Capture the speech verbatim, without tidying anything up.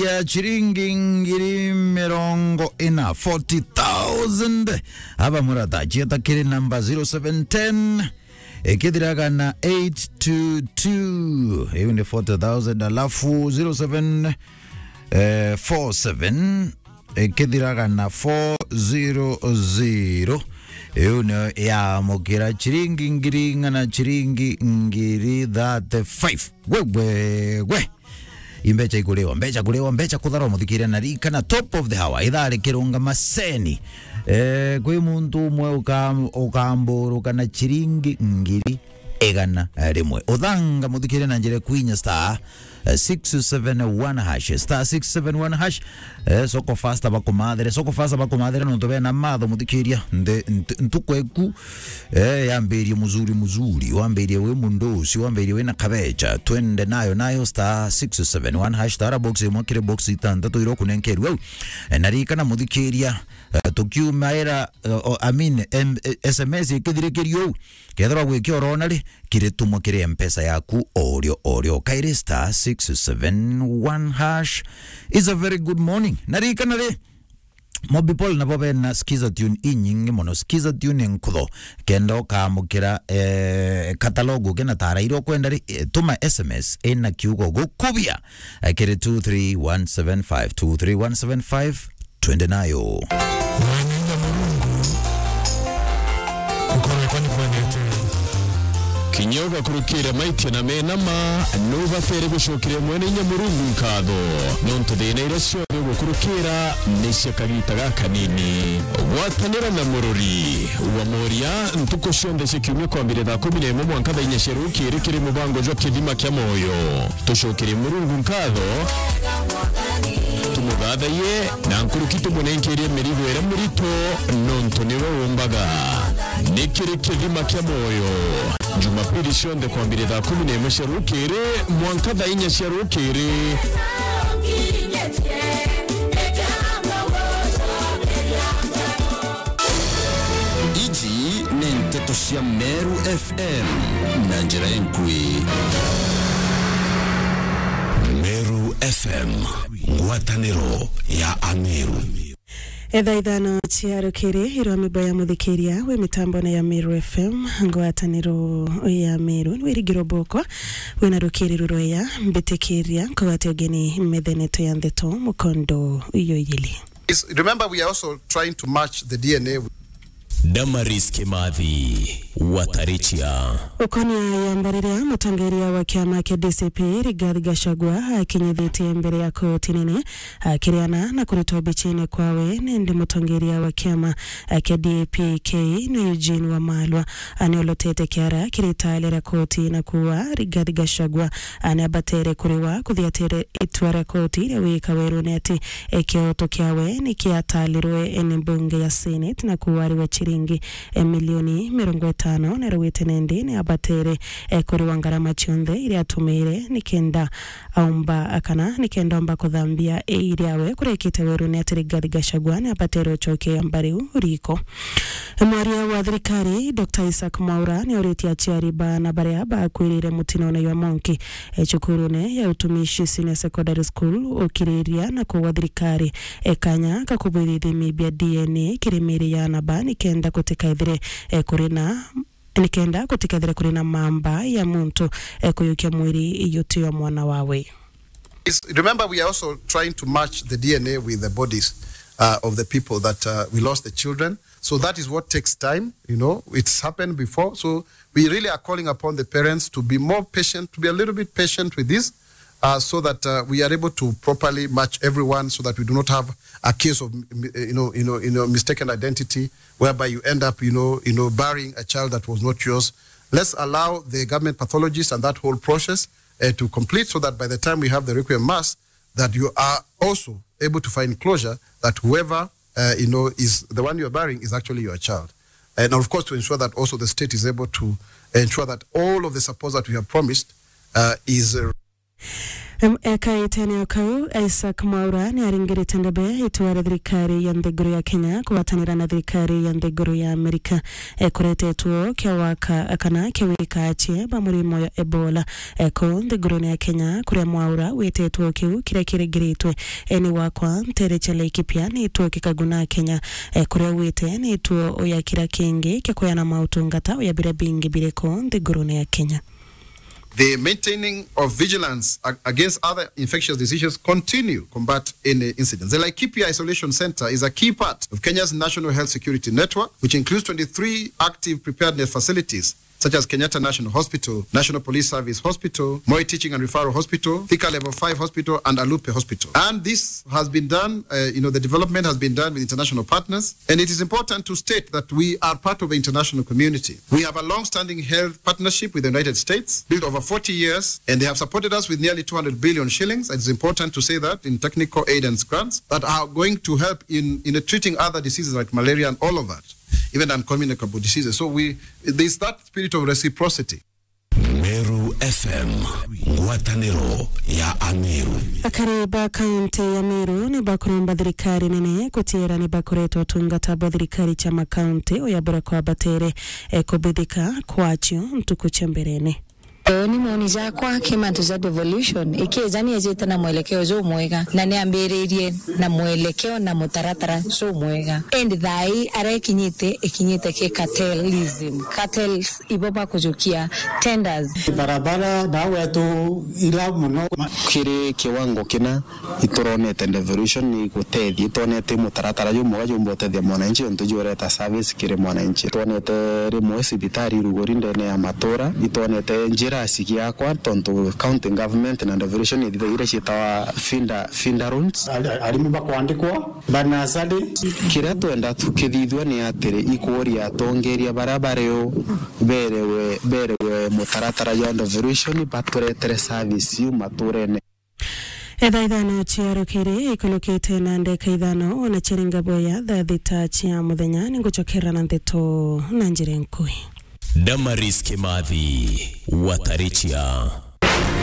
ya chiringi ngiri mirongo ina, forty thousand. Aba murata, chieta kiri namba zero seven ten, ikithiraga na eight two two. Iu ni forty thousand, alafu zero seven, eh, four seven, ikithiraga na four zero zero. Iu ni ya mukira chiringi ngiri ing'ana, chiringi ngiri thirty-five. Gwe, gwe, gwe. Imbecha ikuliwa, mbecha kuliwa, mbecha kutharwa, muthikiria na rika na top of the hour. Ithaa rikirunga maseni. Eh, kwi muntu umwe uka-, ukamburuka na chiringi ngiri igana rimwe. Uthanga, muthikiria na njira kwinya star, eh, six seven one hash, star six seven one hash. Eh, Soko Fasta bakumathere, Soko Fasta bakumathere nontu bena matho, muthikiria. Nde-, ntu-, ntuku eku, eh, yambirie muzuri muzuri, wambirie wi mundusi, wambirie wina kabecha, twende nayo, nayo star six seven one hash, tara box imwe kiri box itantatu iria ukunenkerua au. Eh, na ririkana muthikiria, eh, tukiumaira, eh, o-, I mean, em-, eh, S M S ikithirikirio au, kethirwa gwikia urona ri, kiritumwa kiri M-Pesa yaku o rio, o rio. Kairi star six seven one hash. It's a very good morning. Na ririkana ri, Mobi Paul nabo bena Skiza Tune inyingi mono. Skiza Tune nkutho. Kenda ukamukira, eh, katalogu kena tara iria ukwenda ri, eh, tuma S M S ina kiugo gukubia, eh, kiri two three one seven five, two three one seven five, twende nayo. Mwenye Murungu, nkoro yakwa ni kwendete. Kinya ugakurukira maitia na menama, nubatere gucokeria Mwene Inya Murungu nkatho, nontu thina iria cio gukurukira ni cia kagita gakanini. Gwatanira na murori wa moria ntuku cionthe cia kiumia kwambire thaa kumi na imwe mwanka thaa inya cia rukiri kiri mubango jwa Kithima kia Moyo. Tucokerie Murungu nkatho, tumuthathaiye, na nkuruki tumunenkerie mirigo iria mirito, nontu niwe umbaga. Ni kiri Kithima kia Moyo. Jumapili cionthe kwambire thaa kumi na imwe cia rukiri mwanka thaa inya cia rukiri. Iji ni nteto cia Meru F M na njira inkui. Meru F M, ngwataniro ya Ameru. Etha ithano cia rukiri, irwa mimbo ya muthikiria wi mitambone ya Meru F M, ngwataniro ya Meru, ni wirigiro bokwa, wina rukiri rurweya, mbitikiria, nkugwate ugeni metheneto ya ndeto, mukondo uyo ijili. Is, remember, we are also trying to match the D N A. Damaris Kimathi, Watarichia. Ukonia ya mbariria, mutongeria wa kiama kia D C P, Rigathi Gachagua, akinyithitie mbere ya koti nene, akiriana na kuritwa bichine kwawe, nindi mutongeria wa kiama kia D A P K ni Eugene Wamalwa, aniolotete kiara kiri itale ria koti na kuuga Rigathi Gachagua aniambatere kuriwa kuthiatire itua ria koti ria wika werune ati, e, kioto kiawe ni kiatalirwe ni mbunge ya Senate na kuuga ariwe chiringi, e, milioni mirongo itano, na rugite nindi ni abatere, e, kuriwa ngarama cionthe iria atumire nikenda aumba, kana nikenda omba kuthambia iiri riawe kurekite werune ati Rigathi Gachagua ni abatere ucokia mbariu riko. Mwaria wa thirikari, Doctor Isaac Mwaura, ni auritie aciari baana baria bakwirire mutinone jwa Monki, e, cukurune ya Utumishi Senior Secondary School, ukiriria na kugwa thirikari, e, kanya ga kubwithithia ithimi bia D N A kiri miiri ya aana ba, nikenda gutikaithire, e, kuri na, nikenda gutikaithire kuri na mamba ya muntu, e, kuyukia mwiri yutio mwana wawe. Is, remember, we are also trying to match the D N A with the bodies, uh, of the people that, uh, we lost the children. So that is what takes time, you know, it's happened before. So we really are calling upon the parents to be more patient, to be a little bit patient with this, uh, so that, uh, we are able to properly match everyone so that we do not have a case of, m-, m-, you know, you know, you know, mistaken identity, whereby you end up, you know, you know, burying a child that was not yours. Let's allow the government pathologists and that whole process, uh, to complete so that by the time we have the requiem mass, that you are also able to find closure that whoever, uh, you know, is the one you are burying is actually your child. And of course, to ensure that also the state is able to ensure that all of the support that we have promised, uh, is, uh, Em, ekaitene o kau, Isaac Mwaura ni aringirite ndebe itua ria thirikari ya nthiguru ya Kenya kugwatanira na thirikari ya nthiguru ya Amerika, e, kuretetwo kia waka kana kia wika achie ba murimo ya Ebola, e, ku nthigurune ya Kenya, kuria Mwaura witetwo kiu kiria kiringiritwe, e, ni wakwa ntere cia Laikipia ni ituo kikaguna Kenya, e, kuria wite ni ituo uya kira kingi kia kuyana mautungata uya biria bingi biri ku nthigurune ya Kenya. The maintaining of vigilance ag- against other infectious diseases continue combat any incidents. The Laikipia Isolation Center is a key part of Kenya's National Health Security Network, which includes twenty-three active preparedness facilities, such as Kenyatta National Hospital, National Police Service Hospital, Moi Teaching and Referral Hospital, Thika Level five Hospital, and Alupe Hospital. And this has been done, uh, you know, the development has been done with international partners. And it is important to state that we are part of the international community. We have a long-standing health partnership with the United States, built over forty years, and they have supported us with nearly two hundred billion shillings. It's important to say that in technical aid and grants that are going to help in, in treating other diseases like malaria and all of that, even uncommunicable diseases. So we, there's that spirit of reciprocity. Meru F M, ngwataniro ya Ameru. Akari ba kaunti ya Meru ni bakuromba thirikari nene gutiira ni bakoretwo utungata bwa thirikari cia makaunti uya buria kwabatere, e, kubithika kwacio ntuku cia mberene. Uu ni moni jakwa ki mantu ja devolution, ikija ni ejite na mwelekeo jumwega, na ni ambiririe na mwelekeo na mutaratara jumwega. Indi thaa ii aria ikinyite, ikinyite ki cartelism. Cartels ibo bakujukia tenders. Barabara na wetu ila muno. Kiri kiwango kina ituronete devolution ni gutethia, itwonete mutaratara jumwega jumba utethia mwananchi, untu jureta service kiri mwananchi. Itwonete rimwe cibitari iruguri ndene ya matura, itwonete njira cigiakwa, tontu county government na devolution ithithagira ciitawa feeder, feeder roads. Ari-, arimi bakwandikwa, banasari. Kiria twenda tukithithua ni atiri, ikuria atongeria baria bari u berewe, berewe mutaratara jwa devolution, baturetere service iu maturene. Etha ithano ciarukiri ikulukite na ndeka ithano, ona ciaringa boya thaa thita cia muthenya, ningucokera na ndeto na njira nkui. Damaris Kimathi, Watarichia.